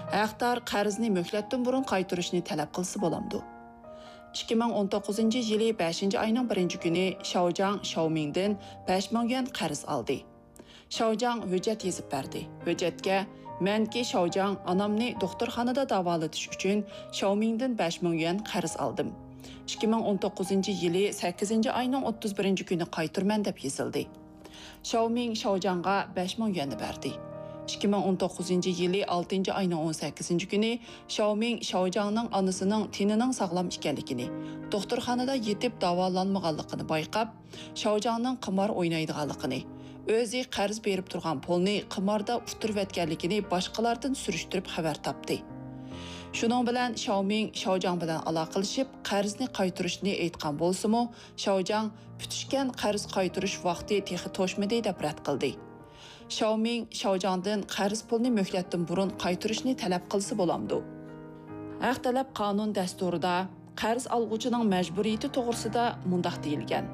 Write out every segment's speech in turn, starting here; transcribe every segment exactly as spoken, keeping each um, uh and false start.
ھەقدار قەرزنى مۆھلەتتىن بۇرۇن قايتۇرۇشنى تەلەپ قىلسا بولامدۇ؟ ئىككى مىڭ ئون توققۇزىنچى يىلى بەشىنچى ئاينىڭ بىرىنچى كۈنى شاۋجاڭ شاۋمىڭدىن بەش مىڭ يۈەن قەرز ئالدى. شاۋجاڭ ھۆججەت يېزىپ بەردى. ھۆججەتكە، مەنكى شاۋجاڭ ئانامنى دوختۇرخانىدا داۋالىتىش ئۈچۈن شاۋمىڭدىن بەش مىڭ يۈەن قەرز ئالدىم. ئىككى مىڭ ئون توققۇزىنچى يىلى سەككىزىنچى ئاينىڭ ئوتتۇز بىرىنچى كۈنى قايتۇرىمەن دەپ يېزىلدى. شاۋمىڭ شاۋجاڭغا بەش مىڭ يۈەننى بەردى. ئىككى مىڭ ئون توققۇزىنچى يىلى ئالتىنچى ئاينىڭ ئون سەككىزىنچى كۈنى شاۋمىڭ شاۋجاڭنىڭ ئانىسىنىڭ تېنىنىڭ ساغلام ئىكەنلىكىنى، دوختۇرخانىدا يېتىپ داۋالانمىغانلىقىنى بايقاپ، شاۋجاڭنىڭ قىمار ئوينايدىغانلىقىنى، ئۆزى قەرز بېرىپ تۇرغان پۇلنى قىماردا ئۇتتۇرۇۋەتكەنلىكىنى باشقىلاردىن سۈرۈشتۈرۈپ خەۋەر تاپتى. شۇنىڭ بىلەن شاۋمىڭ شاۋجاڭ بىلەن ئالاقىلىشىپ، قەرزنى قايتۇرۇشنى ئېيتقان بولسىمۇ، شاۋجاڭ پۈتۈشكەن قەرز قايتۇرۇش ۋاقتى تېخى توشمىدى دەپ رەت قىلدى. شاۋمىڭ شاۋجاڭدىن قەرز پۇلنى مۆھلەتتىن بۇرۇن قايتۇرۇشنى تەلەپ قىلسا بولامدۇ؟ ھەق تەلەپ قانۇن دەستۇرىدا قەرز ئالغۇچىنىڭ مەجبۇرىيىتى توغرىسىدا مۇنداق دېيىلگەن: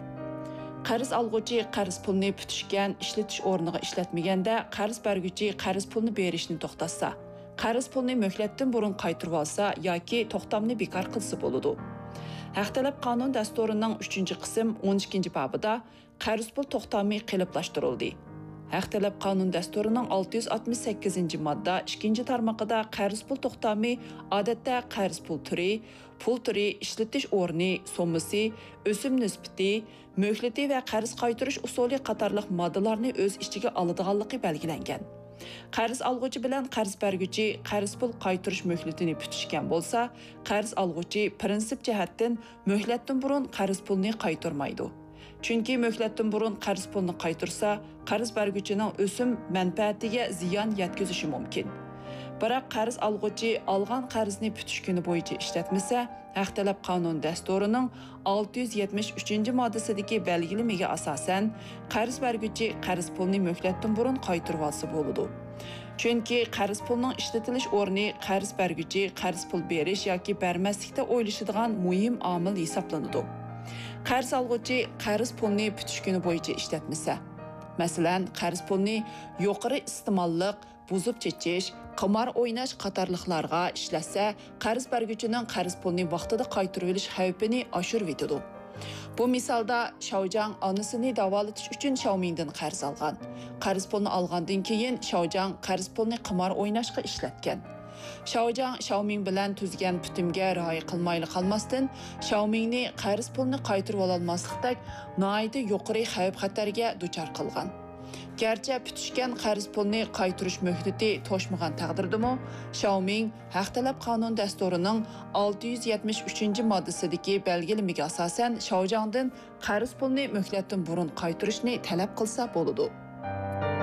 قەرز ئالغۇچى قەرز پۇلنى پۈتۈشكەن ئىشلىتىش ئورنىغا ئىشلەتمىگەندە، قەرز بەرگۈچى قەرز پۇلنى بېرىشنى توختاتسا، قەرز پۇلنى مۆھلەتتىن بۇرۇن قايتۇرۇۋالسا ياكى توختامنى بىكار قىلسا بولىدۇ. ھەق تەلەپ قانۇن دەستۇرىنىڭ ئۈچىنچى قىسىم ئون ئىككىنچى بابىدا قەرز پۇل توختامى قېلىپلاشتۇرۇلدى. ھەق تەلەپ قانۇن دەستۇرىنىڭ ئالتە يۈز ئاتمىش سەككىزىنچى ماددا ئىككىنچى تارمىقىدا قەرز پۇل توختامى، ئادەتتە، قەرز پۇل تۈرى، پۇل تۈرى، ئىشلىتىش ئورنى، سوممىسى، ئۆسۈم نىسبىتى، مۆھلىتى ۋە قەرز قايتۇرۇش ئۇسۇلى قاتارلىق ماددىلارنى ئۆز ئىچىگە ئالىدىغانلىقى بەلگىلەنگەن. قەرز ئالغۇچى بىلەن قەرز بەرگۈچى قەرز پۇل قايتۇرۇش مۆھلىتىنى پۈتۈشكەن بولسا، قەرز ئالغۇچى پىرىنسىپ جەھەتتىن مۆھلەتتىن بۇرۇن قەرز پۇلنى قايتۇرمايدۇ. چۈنكى مۆھلەتتىن بۇرۇن قەرز پۇلنى قايتۇرسا، قەرز بەرگۈچىنىڭ ئۆسۈم مەنپەئەتىگە زىيان يەتكۈزۈشى مۇمكىن. بىراق، قەرز ئالغۇچى ئالغان قەرزنى پۈتۈش كۈنى بويىچە ئىشلەتمىسە، ھەق تەلەپ قانۇن دەستۇرىنىڭ ئالتە يۈز يەتمىش ئۈچىنچى ماددىسىدىكى بەلگىلىمىگە ئاساسەن، قەرز بەرگۈچى قەرز پۇلنى مۆھلەتتىن بۇرۇن قايتۇرۇۋالسا بولىدۇ. چۈنكى قەرز پۇلنىڭ ئىشلىتىلىش ئورنى قەرز بەرگۈچى قەرز پۇل بېرىش ياكى بەرمەسلىكتە ئويلىشىدىغان مۇھىم ئامىل ھېسابلىنىدۇ. قەرز ئالغۇچى قەرز پۇلنى پۈتۈش كۈنى بويىچە ئىشلەتمىسە، مەسىلەن، قەرز پۇلنى يۇقىرى ئىستېماللىق، بۇزۇپ چېچىش، قىمار ئويناش قاتارلىقلارغا ئىشلەتسە، قەرز بەرگۈچىنىڭ قەرز پۇلنى ۋاقتىدا قايتۇرۇۋېلىش خەۋپىنى ئاشۇرۇۋېتىدۇ. بۇ مىسالدا شاۋجاڭ ئانىسىنى داۋالىتىش ئۈچۈن شاۋمىڭدىن قەرز ئالغان. قەرز پۇلنى ئالغاندىن كېيىن شاۋجاڭ قەرز پۇلنى قىمار ئويناشقا ئىشلەتكەن. شاۋجاڭ شاۋمىڭ بىلەن تۈزگەن پۈتۈمگە رىئايە قىلمايلا قالماستىن، شاۋمىڭنى قەرز پۇلنى قايتۇرۇۋالالماسلىقتەك ناھايىتى يۇقىرى خەۋپ-خەتەرگە دۇچار قىلغان. گەرچە پۈتۈشكەن قەرز پۇلنى قايتۇرۇش مۆھلىتى توشمىغان تەقدىردىمۇ، شاۋمىڭ ھەق تەلەپ قانۇن دەستۇرىنىڭ ئالتە يۈز يەتمىش ئۈچىنچى ماددىسىدىكى بەلگىلىمىگە ئاساسەن شاۋجاڭدىن قەرز پۇلنى مۆھلەتتىن بۇرۇن قايتۇرۇشنى تەلەپ قىلسا بولىدۇ.